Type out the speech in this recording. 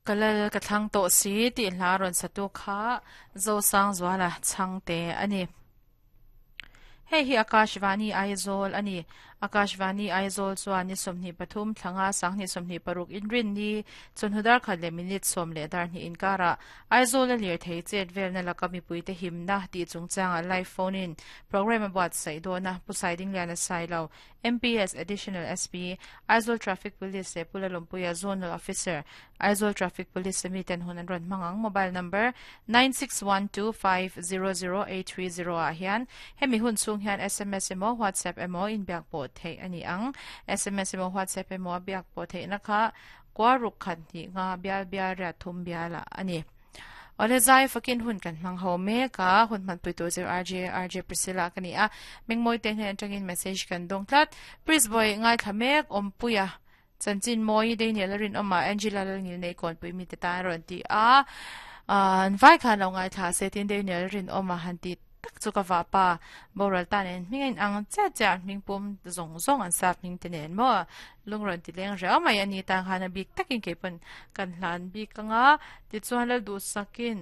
Ka lal ka thlang tawh si tih hla rawn satu kha Zosangzuala chhangte a ni. Hei hi Akashvani Aizawl a ni. Akashvani Aizawl chuan ni 23 thlanga sanghnih 26 inrin ni chawhnu dar khat leh minute sawm leh dar hnih inkarah Aizawl a lirthei chet velna laka mipuite himna tih chungchangah live phone in programme a buatsaih dawn a, Pu Saidingliana Sailo, MPS Additional SP, Aizawl Traffic Police leh Pu Lalawmpuia Zonal Officer, Aizawl Traffic Police a miten hun an rawn hmang ang. Mobile number, 9612500830 ah hian hemi hun chhung hian sms emaw WhatsApp emaw inbiak pawh theih a ni ang. Sms emaw WhatsApp emaw a biak pawh theihna kha kua ruk khat hnih nga bial bial riat thum bialah a ni. Awle zai fakin hun kan hmang ho mek a, hun hmanpui tur chu RJ RJ Priscilla ka ni a, Mengmawi te hnen atangin message kan dawng tlat. Pris Boy ngaithla mek Awmpuia chanchin mawi Daniel a rinawm a, Angela Lalngilnei kawnpui mite tan a rawn ti a, an vai khan lo ngaithla se tin Daniel a rinawm a han ti tak chu ka vahpa boral ta nen hming a inang chiah chiah an hming pum zawng zawng an sap hming te nen maw lung rawn ti leng riau mai a ni tan khan a bik takin kei pawn kan hlan bik ang a tichuan Lalduhsakin.